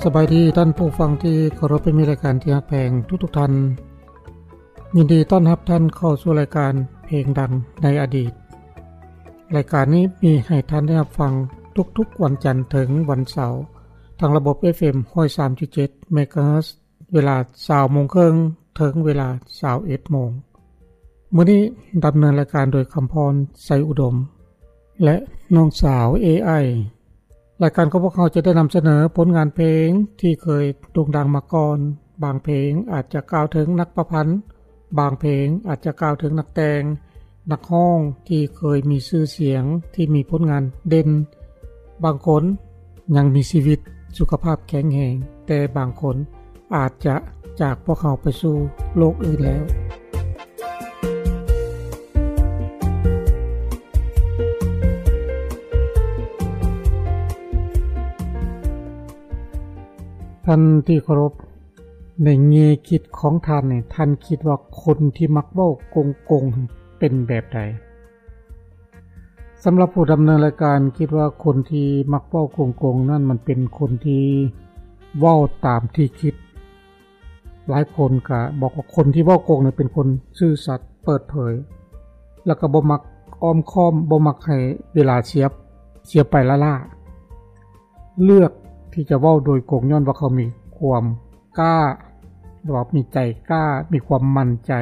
ສະບາຍດີທ່ານຜູ້ຟັງທີ່ເຄົາລົບ ແລະ ມີລາຍການທີ່ຮັກແພງທຸກໆທ່ານ. ຍິນດີຕ້ອນຮັບທ່ານເຂົ້າສູ່ລາຍການເພງດັງໃນອະດີດ. ລາຍການນີ້ມີໃຫ້ທ່ານໄດ້ຮັບຟັງທຸກໆວັນຈັນເຖິງວັນເສົາ ທາງລະບົບ ເອັຟເອັມ ຮ້ອຍສາມຈຸດເຈັດ ເມກາເຮີດ ເວລາ ຊາວໂມງເຄິ່ງ ເຖິງເວລາ ຊາວເອັດໂມງ. ມື້ນີ້ດຳເນີນລາຍການໂດຍ ຄຳພອນ ໄຊອຸດົມ ແລະ ນ້ອງສາວ ເອໄອ. ລາຍການຂອງພວກເຮົາຈະໄດ້ນຳສະເໜີຜົນງານເພງທີ່ເຄີຍໂດ່ງດັງມາກ່ອນ. ບາງເພງອາດຈະກ່າວເຖິງນັກປະພັນ, ບາງເພງອາດຈະກ່າວເຖິງນັກແຕ່ງ, ນັກຮ້ອງທີ່ເຄີຍມີຊື່ສຽງ, ທີ່ມີຜົນງານເດັ່ນ. ບາງຄົນຍັງມີຊີວິດ, ສຸຂະພາບແຂງແຮງ, ແຕ່ບາງຄົນອາດຈະຈາກພວກເຮົາໄປສູ່ໂລກອື່ນແລ້ວ. ທ່ານທີ່ເຄົາລົບ, ໃນແງ່ຄິດຂອງທ່ານນີ້, ທ່ານຄິດວ່າຄົນທີ່ມັກເວົ້າກົງໆເປັນແບບໃດ? ສຳລັບຜູ້ດຳເນີນລາຍການ, ຄິດວ່າຄົນທີ່ມັກເວົ້າກົງໆນັ້ນ, ມັນເປັນຄົນທີ່ເວົ້າຕາມທີ່ຄິດ. ຫຼາຍຄົນກະບອກວ່າຄົນທີ່ເວົ້າກົງນັ້ນເປັນຄົນຊື່ສັດ, ເປີດເຜີຍ, ແລ້ວກໍບໍ່ມັກອ້ອມຄ້ອມ, ບໍ່ມັກໃຫ້ເວລາເສຍ, ເສຍໄປລ້າໆ. ເລືອກທີ່ຈະເວົ້າໂດຍກົງຍ້ອນວ່າເຂົາມີຄວາມກ້າ, ຫຼືວ່າມີໃຈກ້າ, ມີຄວາມໝັ້ນໃຈ.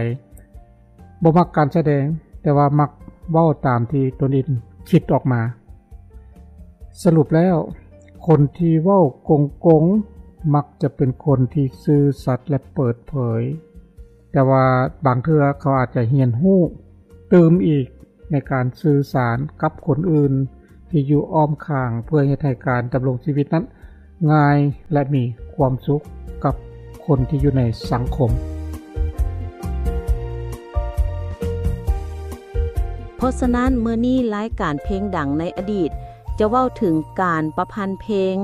ບໍ່ມັກການສະແດງ, ແຕ່ວ່າມັກເວົ້າຕາມທີ່ຕົນເອງຄິດອອກມາ. ສະຫຼຸບແລ້ວ, ຄົນທີ່ເວົ້າກົງໆ ມັກຈະເປັນຄົນທີ່ຊື່ສັດ ແລະ ເປີດເຜີຍ, ແຕ່ວ່າບາງເທື່ອເຂົາອາດຈະຮຽນຮູ້ຕື່ມອີກໃນການສື່ສານກັບຄົນອື່ນທີ່ຢູ່ອ້ອມຂ້າງ ເພື່ອເຮັດໃຫ້ການດຳລົງຊີວິດນັ້ນງ່າຍ ແລະ ມີຄວາມສຸກກັບຄົນທີ່ຢູ່ໃນສັງຄົມ. ເພາະສະນັ້ນ, ມື້ນີ້ລາຍການເພງດັງໃນອະດີດ ຈະເວົ້າເຖິງການປະພັນເພງ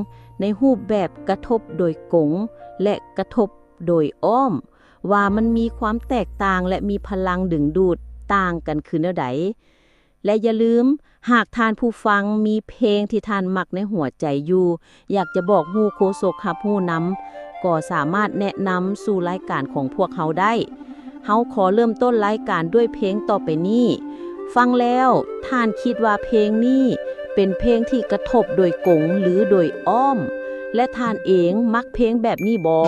ໃນຮູບແບບກະທົບໂດຍກົງ ແລະ ກະທົບໂດຍອ້ອມ, ວ່າມັນມີຄວາມແຕກຕ່າງ ແລະ ມີພະລັງດຶງດູດຕ່າງກັນຄືແນວໃດ. ແລະ ຢ່າລືມ, ຫາກທ່ານຜູ້ຟັງມີເພງທີ່ທ່ານມັກໃນຫົວໃຈຢູ່, ຢາກຈະບອກຮູ້ໂຄສົກຮັບຮູ້ນຳ, ກໍສາມາດແນະນຳສູ່ລາຍການຂອງພວກເຮົາໄດ້. ເຮົາຂໍເລີ່ມຕົ້ນລາຍການດ້ວຍເພງຕໍ່ໄປນີ້. ຟັງແລ້ວ, ທ່ານຄິດວ່າເພງນີ້ເປັນເພງທີ່ກະທົບໂດຍກົງ ຫຼື ໂດຍອ້ອມ? ແລະ ທ່ານເອງມັກເພງແບບນີ້ບໍ?